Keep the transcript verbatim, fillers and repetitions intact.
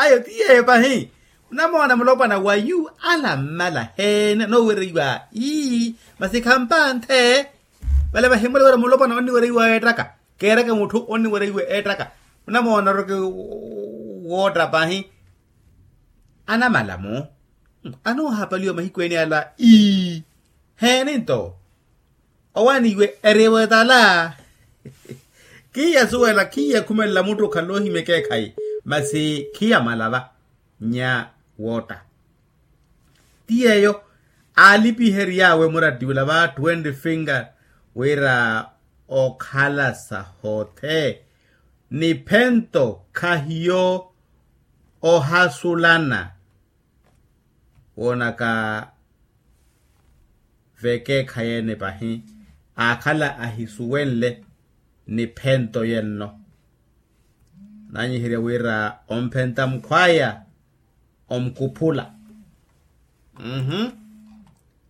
Ayo ti yeeyo pahi. Munamoona mulopwana wa yu ala mmala heene anoowereiwa ii masi khampanthe. Vale vahi mmulewerya mulopwana onniwereiwa eettaka keereke mutthu onniwereiwa eettaka. Munamoona oreke wootta pahi. Anamala-mo anoohapaliwa mahiku ene ala ii. Heeni nto owaani iwe eri ewe tala. Khiiyasuwela khiiyakhumelela mutthu okhala ohimya ekeekhayi masi khiyamala va nya wootta. Ti yeeyo aalipihery'awe murattiwela va twenty finger wira okhala sahothe niphento khahiyo ohasulana. Woonaka vekeekhayi ene pahi aakhala ahisuwenle niphento yenno. Naanyiherya wira omphenta mukhwaya omukuphula. Mhm.